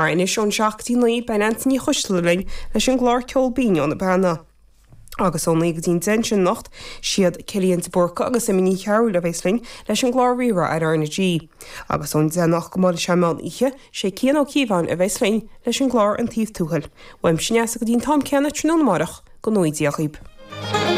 Mar anois ón 7 go dtí 9 beidh Neansaí Ní Choisdealbha linn leis an gclár Ceol Binn ó na Beanna. Agus ó 9 go dtí an 10 ansin anocht, siad Cillian de Búrca agus Emma Ní Chearúil a bheas linn leis an gclár Rí-Rá ar R na G. Agus ón 10 anocht go mbuailfidh sé an meán oíche, sé Cian Ó Cíobháin a bheas linn leis an gclár An Taobh Tuathail. Uaimse Neasa go dtí an t-am céanna tráthnóna amárach, go ngnóthaí Dia dhaoib.